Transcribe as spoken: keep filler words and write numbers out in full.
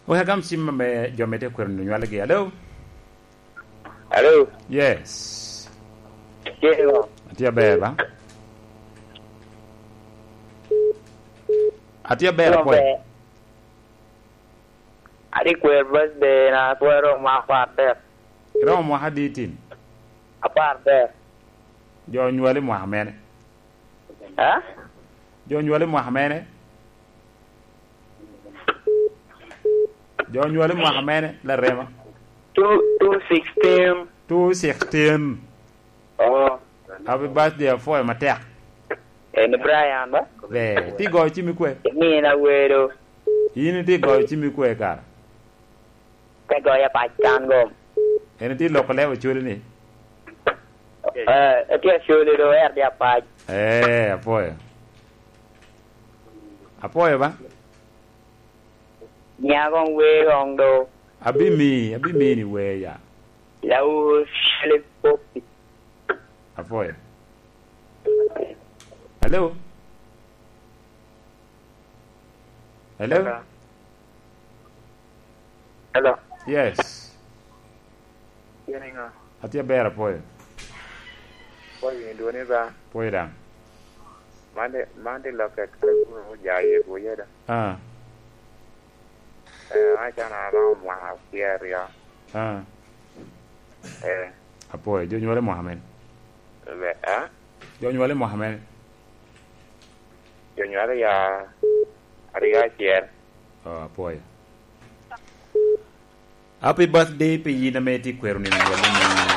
Wek agam cim ame jo me tye kwero nywalgi. Alo? Alo? Yes. Tye ŋo? Atye aber, ba? Atye aber, Ŋo apwoyo. Ber? Adi kwer birthday na, apwoyo romo mwaka apar dek. Iromo mwaka adi tin? Apar dek. Jo onywali mwaka mene? Ha? Jo onywali mwaka mene? Jo onywali mwaka mene, larema? Two, two sixteen. Two sixteen. Oh. Happy birthday, apwoyo matek. En Brian ba? Be, ti goyo cimi kwe? Min awero. In ti goyo cimi kwe kara? Te goyo apac kan gom. En ti loko lebo culi ni? Eh, etye aculi do, er di apac. Eh, apwoyo. Apwoyo ba? Nya kong wer kong do. Abimi, abimi ni wer ya. Lawu shele popi. Apwoyo. Hello? Hello? Hello. Hello. Yes. Yin iŋo? Atye aber, apwoyo. Apwoyo, in dwoni ba? Apwoyo daŋ. Man di, man di lokke kare kuno oja ye buye da. Ah. Eh, acana aromo mwaka pyeraryo. Ah. Eh. Apwoyo, jo nywale mwaka men? Be, ah? Jo nywale mwaka men? Jo nywale ya aryo acel. Oh, apwoyo. Happy birthday pi yin ame itye kwero nino nywalli ni.